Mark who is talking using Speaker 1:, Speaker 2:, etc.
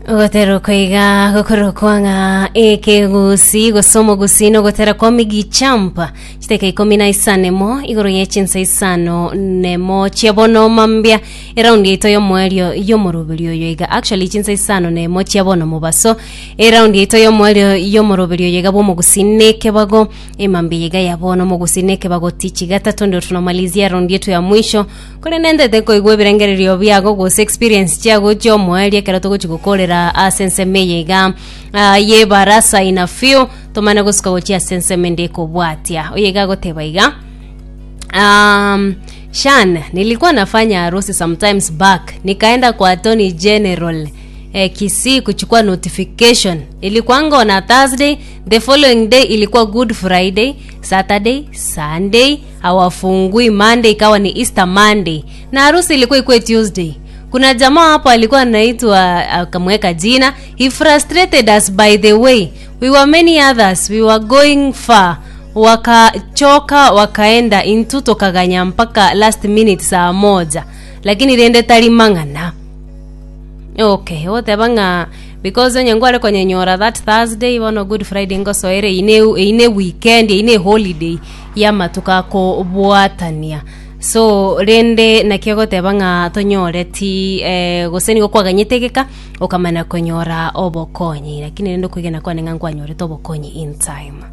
Speaker 1: Ogotera oko iga gokorokwa ng'a ekegusi gose omogusi nogotera kwa Miggy Champ chidakika ikomi na isano emo igoro ye chinsa isano nemo chia bono mambia eraundi yaito y'omoerio y'omoroberi oyo iga actually chinsa isano nemo chia bono mobaso eraundi yaito y'omoerio y'omoroberi oyo iga bw'omogusi nekebago emambia iga ya bono omogusi nekebago tichi gatato ndio tunamalizia raundi yetu ya mwisho Korende ntete koigwa ebirengererio biago gose experience chiago chi'omoerio ekero togochia gokorera ase ensemo eye iga ah, y'ebarasa in a few tomane gosuka gochia ase ensemo ende ekobwatia. Oyo iga agoteba iga Um, Shan, nilikuwa nafanya harusi sometimes back nikaenda kwa Attorney General eh, Kisii kuchukua notification. Ilikuwanga on a Thursday, the following day ilikuwa Good Friday, Saturday, Sunday, hawafungui Monday ikawa ni Easter Monday na harusi ilikuwa ikuwe Tuesday. Kuna jamaa hapo alikuwa anaitwa akamweka jina, he frustrated us by the way. We were many others, we were going far. Wakachoka wakaenda intu tokaganya mpaka last minute saa moja lakini rende tari mang'ana. Okay, ogoteba ng'a because onye nkware konyenyora that Thursday bono Good Friday ngosoere eyio ne eyio ne weekend eyio ne holiday y'amatuko akobwatania. So rende naki ogoteba ng'a tonyoreti gose nigo kwaganyete egeka okamana konyora obokonyi lakini rende okwegena kwane ng'a nkwanyorete obokonyi in time.